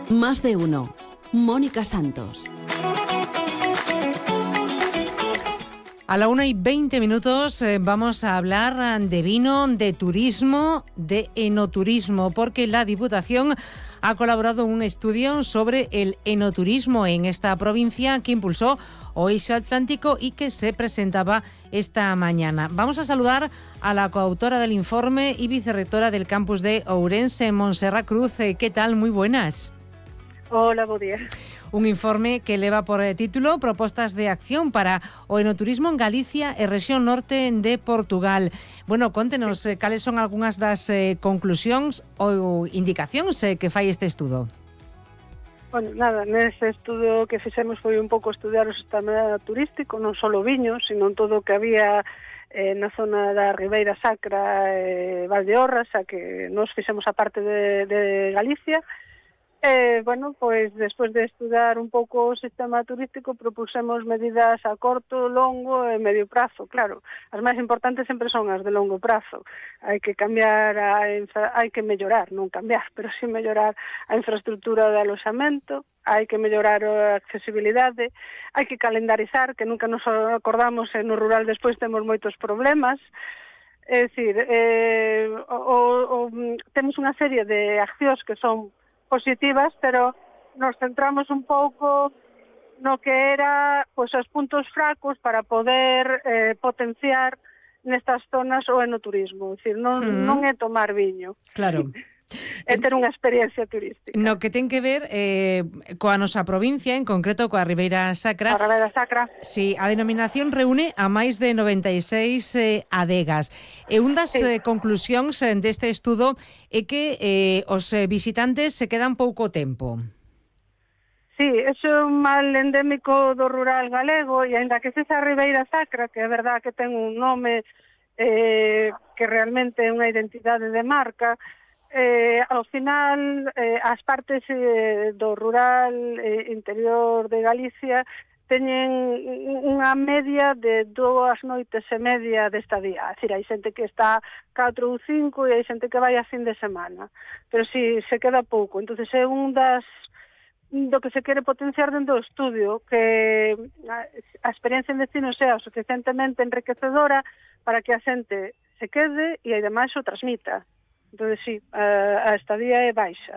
Más de uno. Mónica Santos. A la 1:20 vamos a hablar de vino, de turismo, de enoturismo, porque la Diputación ha colaborado en un estudio sobre el enoturismo en esta provincia que impulsó Oeste Atlántico y que se presentaba esta mañana. Vamos a saludar a la coautora del informe y vicerrectora del campus de Ourense, Montserrat Cruz. ¿Qué tal? Muy buenas. Hola, bo día. Un informe que leva por título Propostas de acción para o enoturismo en Galicia e rexión norte de Portugal. Bueno, contenos cales son algunhas das conclusións ou indicacións que fai este estudo. Bueno, nada, nese estudo que fixemos foi un pouco estudiar o sistema turístico, non só o viño, sino todo o que había na zona da Ribeira Sacra e Valdeorras, a que nos fixemos a parte de Galicia. Bueno, pois despois de estudar un pouco o sistema turístico propusemos medidas a corto, longo e medio prazo. Claro, as máis importantes sempre son as de longo prazo. Hai que cambiar, hai que mellorar, non cambiar, pero sí mellorar a infraestructura de aloxamento, hai que mellorar a accesibilidade, hai que calendarizar, que nunca nos acordamos e no rural despois temos moitos problemas. É dicir, temos unha serie de accións que son positivas, pero nos centramos un pouco no que era pois os puntos fracos para poder potenciar nestas zonas o enoturismo. É dicir, non é tomar viño. Claro. É ter unha experiencia turística. No que ten que ver coa nosa provincia, en concreto coa Ribeira Sacra. A Ribeira Sacra. Sí, a denominación reúne a máis de 96 adegas. E un das conclusións deste estudo é que os visitantes se quedan pouco tempo. Sí, eso é un mal endémico do rural galego, e ainda que sexa a Ribeira Sacra, que é verdad que ten un nome que realmente é unha identidade de marca, ao final as partes do rural interior de Galicia teñen unha media de 2 noites e media de estadía. É dicir, hai xente que está 4 ou 5 e hai xente que vai a fin de semana, pero si se queda pouco. Entonces é do que se quere potenciar dentro do estudio, que a experiencia en destino sea o suficientemente enriquecedora para que a xente se quede e ademais o transmita. Entón, sí, a estadía é baixa,